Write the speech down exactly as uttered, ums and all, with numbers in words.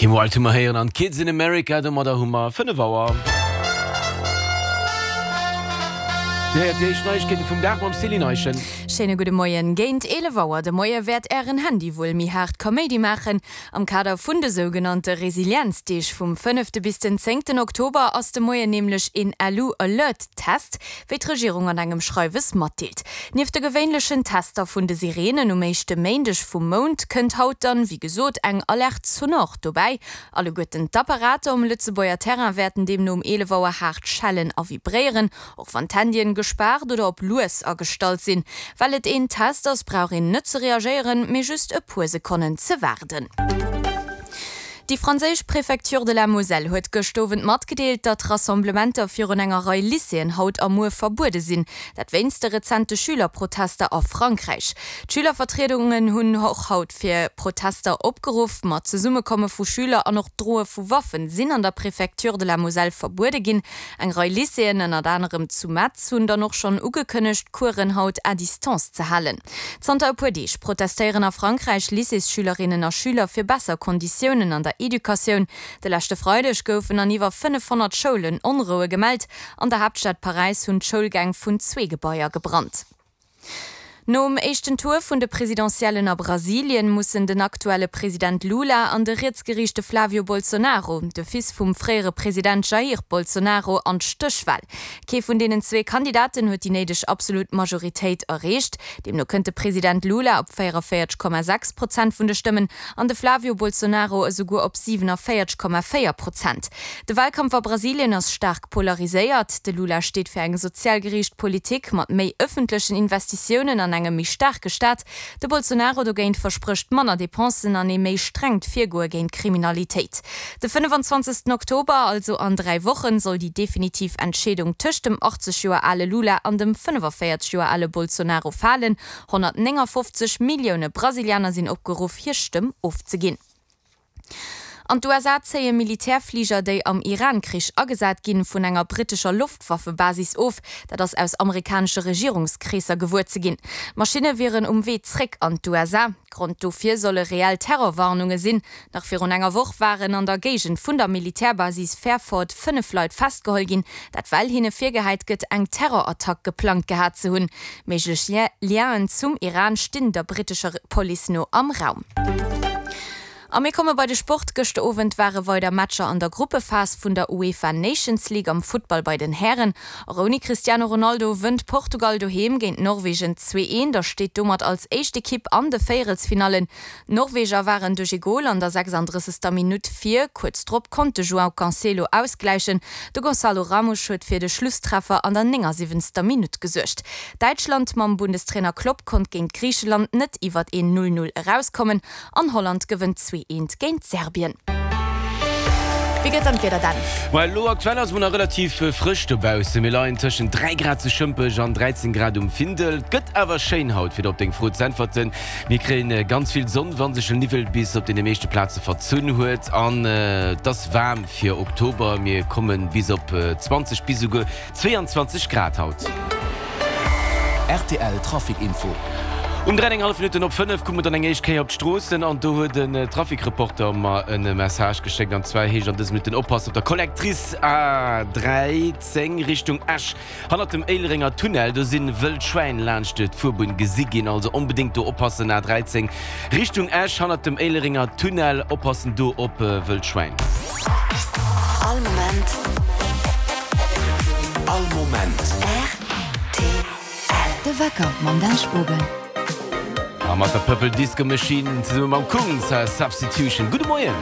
Kim Wilde hu mer héieren an Kids in America. Domadder hu mer fënnef Auer. Dir héiert déi éischt Neiegkeete vum Dag mam Céline Eischen. Schéine gudde Moien. Géint eelef Auer de Moie wäert Ären Handy wuel méi haart Kaméidi maachen. Am Kader vun de sougenannte Resilienzdeeg vum fënnefte bis den zéngten Oktober ass de Moien nämlech een LU-Alert-Test, wéi d'Regierung an engem Schreiwes matdeelt. Nieft de gewéinlechen Tester vun de Sireenen um éischte Méindeg vum Mount kënnt haut dann, wéi gesot, eng Alerte sonore dobäi. Alleguerten d'Apparater um Lëtzebuerger Terrain wäerten deemno um eelef Auer haart schellen a vibréieren, och wann d'Handyen gespaart oder op lues agestallt sinn. Well et een Test ass, brauch een net ze reagéieren, mee just e puer Sekonnen ze waarden. Déi franséisch Préfecture de la Moselle huet gëscht Owend matgedeelt, datt Rassemblementer virun enger Rei Lycéeën haut a muer verbuede sinn. Dat wéinst de rezente Schülerprotester a Frankräich. D'Schülervertriedungen hunn och haut fir Protester opgeruff. Ma d'Zesummekomme vu Schüler an och d'Droe vu Waffen sinn an der Préfecture de la Moselle verbuede ginn. Eng Rei Lycéeën, ënnert anerem zu Metz, hunn dann och schonn ugekënnegt, d'Coursen haut à distance ze halen. Zanter e puer Deeg protestéieren a Frankräich Lycéesschülerinnen a Schüler fir besser Konditiounen an der Educatioun. De leschte Freideg goufen an iwwer fënnefhonnert Schoulen Onroue gemellt. An der Haaptstad Paräis hunn d'Schoulgäng vun zwee Gebaier gebrannt. Nom éischten Tour vun de Presidentiellen a Brasilien mussen den aktuelle President Lula an de rietsgeriichte Flavio Bolsonaro, de Fils vum fréiere President Jair Bolsonaro, an d'Stéchwal. Kee vun deenen zwee Kandidaten huet déi néideg absolut Majoritéit erreecht. Deemno kënnt de President Lula op véierevéierzeg Komma sechs Prozent vun de Stëmmen an de Flavio Bolsonaro esouguer op siwenavéierzeg Komma véier Prozent. De Walkampf a Brasilien ass staark polariséiert. De Lula steet fir eng sozial geriicht Politik mat méi ëffentlechen Investitiounen an engem méi staarke Staat. De Bolsonaro dogéint versprécht manner Depensen an ee méi strengt Virgoe géint d'Kriminalitéit. De fënnefenzwanzegsten Oktober, also an dräi Wochen, soll déi definitiv Entscheedung tëscht dem achtzeg Joer ale Lula an dem fënnefavéierzeg Joer ale Bolsonaro falen. honnertnéngafofzeg Millioune Brasilianer sinn opgeruff, hir Stëmm ofzeginn. An d'USA zéie Militärfliger, déi am Iran-Krich agesat ginn, vun enger brittescher Loftwaffebasis of. Dat ass aus amerikanesche Regierungskreesser gewuer ze ginn. D'Maschinne wieren um Wee zréck an d'USA. Grond dofir solle reell Terrorwarnunge sinn. Nach virun enger Woch waren an der Géigend vun der Militärbasis Fairford fënnef Leit festgeholl ginn, dat well hinne virgehäit gëtt, eng Terrorattack geplangt gehat ze hunn. Méiglech Lienen zum Iran stinn der brittescher Police no am Raum. A mir komme bei de Sport. Gëschter Owend ware weider Matcher an der Gruppephas vun der UEFA Nations League am Futtball bei den Hären. Och ouni Cristiano Ronaldo wënnt Portugal doheem géint Norwegen zwee, eent a steet domat als éischt Ekipp an de Véierelsfinallen. D'Norweger waren duerch ee Gol an der sechsanddrëssegster Minutt vir. Kuerz drop konnt de João Cancelo ausgläichen. De Gonçalo Ramos huet fir de Schlusstreffer an der néngasiwwenzter Minutt gesuergt. Däitschland mam Bundestrainer Klopp konnt géint Griicheland net iwwert een Null Null erauskommen an Holland gewënnt zwee eent géint Serbien. Wéi gëtt dann d'Wieder Dan? Ma elo aktuell ass et mol nach relativ frësch dobaussen. Mir leien tëschent dräi Grad zu Schëmpech an dräizéng Grad um Findel. Et gëtt awer schéin haut, fir der op deng Fro z'äntwerten. Mir kréien ganz vill Sonn, wa sech den Niwwel bis op deene meeschte Plaze verzunn huet. An et ass waarm fir Oktober, mir komme bis op zwanzeg bis esouguer zweeanzwanzeg Grad haut. Rtl Trafic Info. Um dräi eng hallef Minutten op fënnef kucke mer dann eng éischt Kéier op d'Stroossen an do huet en Trafic-Reporter mer en Message geschéckt an zwar heescht an dëse Minutten oppassen op der Collectrice A dräizéng Richtung Esch hannert dem Éilerenger Tunnel, do sinn wëll Schwäin laanscht d'Fuerbunn gesi ginn, also onbedéngt do oppassen, A dräizéng Richtung Esch hannert dem Éilerenger Tunnel, oppassen do op wëll Schwäin. All Moment. All Moment. Rtl. De Wecker mam Dan Spogen. A mat der Purple Disco Machine zesumme mam Kungs, Substitution. Gudde Moien!